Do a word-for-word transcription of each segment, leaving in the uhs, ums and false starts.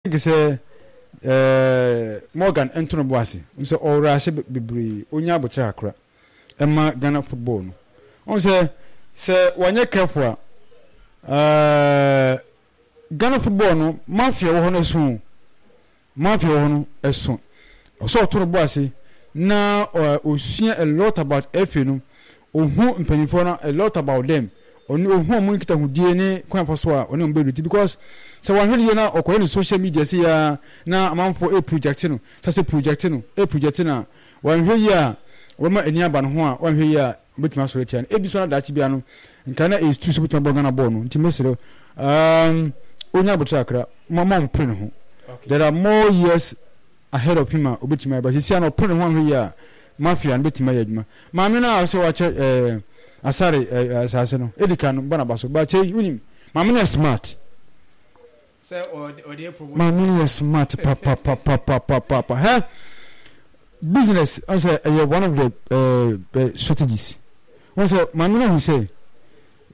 Think sɛ ɛɛ Morgan nto no bo ase sɛ ɔwura ase bebree, onya abotire akora ɛma Ghana football no. Ɔn sɛ sɛ wanyɛ careful a, ɛɛ Ghana football no, mafia wɔ hɔ no ɛso, mafia wɔ hɔ no ɛso. Ɔsɛ ɔto no bo ase na ɔɛ osua a lot about F A no, ohu mpanyinfoɔ no, a lot about them, ɔne ohu ɔmo nkitahodie ne kwan fa so a ɔne ɔmo bɛdu ti, because sɛ wɔahwɛ no yie na ɔkɔyɛ no social media si ya na amanfoɔ e project no sɛ sɛ project no e project no a, wɔahwɛ yie a, wɔma ani aba no ho a, wɔahwɛ yie a, wɔbɛtumi asɔrɔ atia no. Ebi so na daakye bia no nka na ɛyɛ so bɛtumi abɔ Ghana bɔɔl no. Nti mesrɛ um, onya abotire akra ma ma ɔmpere ne ho. There are more years ahead of him a obɛtumi ayɛ, but sisi a na ɔpere ne ho, ahwɛ yie a, mafia no bɛtumi ayɛ adwuma. Maame no a ɔsɛ wakyɛ ɛɛ Asare ɛɛ asase no edi kan no, bɔ n'aba so ba kyɛ. Wunim, maame no yɛ smart. Sɛ ɔde ɔde promote. Maame no yɛ smart papapapapapa. Hɛ, business ɔsɛ ɛyɛ one of the ɛɛ uh, strategies. Wɔn sɛ maame no ahu sɛ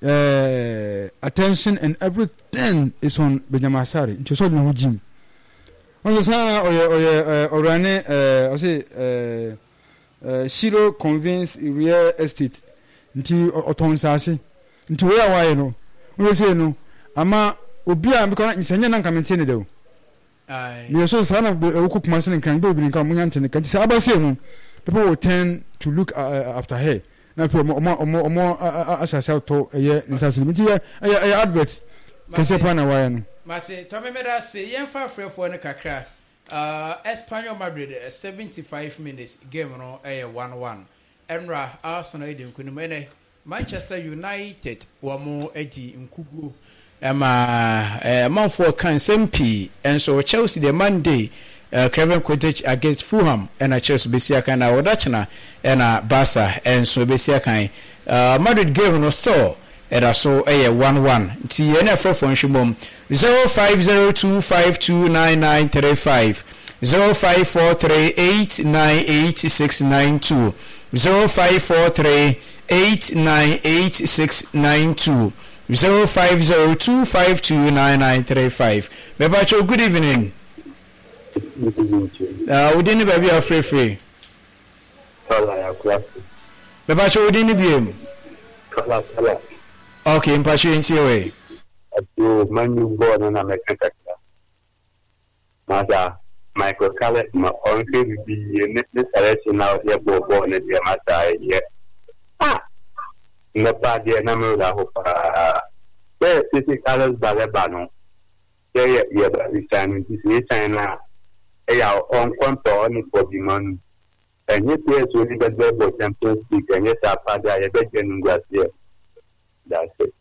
ɛɛ attention and everything is on Benjamin Asare, nti ɔsɛ ɔde ne ho gyim. Wɔn sɛ saa ɔyɛ ɔyɛ ɛɛ ɔwurane ɛɛ ɔsɛ ɛɛ ɛɛ Shiro Convince Real Estate, nti ɔtɔn nsaase. Nti wei a wayɛ no, wɔn sɛ sei no ama obi a because sɛ nyɛ na nka mente ne dɛ o. Meyɛ so saa na ɛwokɔ Kumase ne Nkran bebree nka ɔmo nya nte ne ka. Nti sɛ aba sei no, people will turn to look uh, after her, na afei ɔmo ɔmo ɔmo ɔmo ahyɛ ase atɔ ɛyɛ ne nsaase no mu. Nti yɛ ɛyɛ ɛyɛ advert kɛseɛ paa na wayɛ no. Mate, tɔmi, mɛda ase. Yɛmfa afrɛfoɔ no kakra. uh, Espanyol Madrid, uh, seventy-five minutes game no ɛyɛ one one. Ɛnra Arsenal edi nkunim, ɛnɛ Manchester United wɔn adi nkuguo ɛma ɛɛ amanfoɔ ka nsɛm pii. Ɛnso Chelsea deɛ, Monday uh, Craven Cottage against Fulham ɛna Chelsea bɛsi akan, na wɔda kyena ɛna Barca ɛnso bɛsi akan. uh, Madrid game no still ɛda so ɛyɛ one one. Nti yɛn afrɛfoɔ nhwɛ mom zero five zero two five two nine nine three five, zero five four three eight nine eight six nine two, zero five four three eight nine eight six nine two, zero five zero two five two nine nine three five. Mepakyɛw, good evening. uh, wodin ne baabi a wofrɛfrɛ? Mepakyɛw, wodin ne biem? Kala kala. Ok, mpakyɛw, yɛntie wei. Ato manu bɔɔl no na mɛka kakra. Masa, Michael Carrick ma ɔnhwɛ bibi yie ne ne selection na ɔde bɔɔ bɔɔl no deɛ, masa, ɛyɛ. Ah! Nnɔpa deɛ na mewura hɔ paa. Sɛ sisi Carlos Baleba no, sɛ yɛ yɛba resign no, nti sɛ yɛsign no a, ɛyɛ a ɔnkɔntɔ ɔne Kobbie Mainoo. Ɛnyɛ players wo ne bɛbɛ bɔ Champions League, ɛnyɛ saa paa deɛ a yɛbɛgye no nguaseɛ. That's it.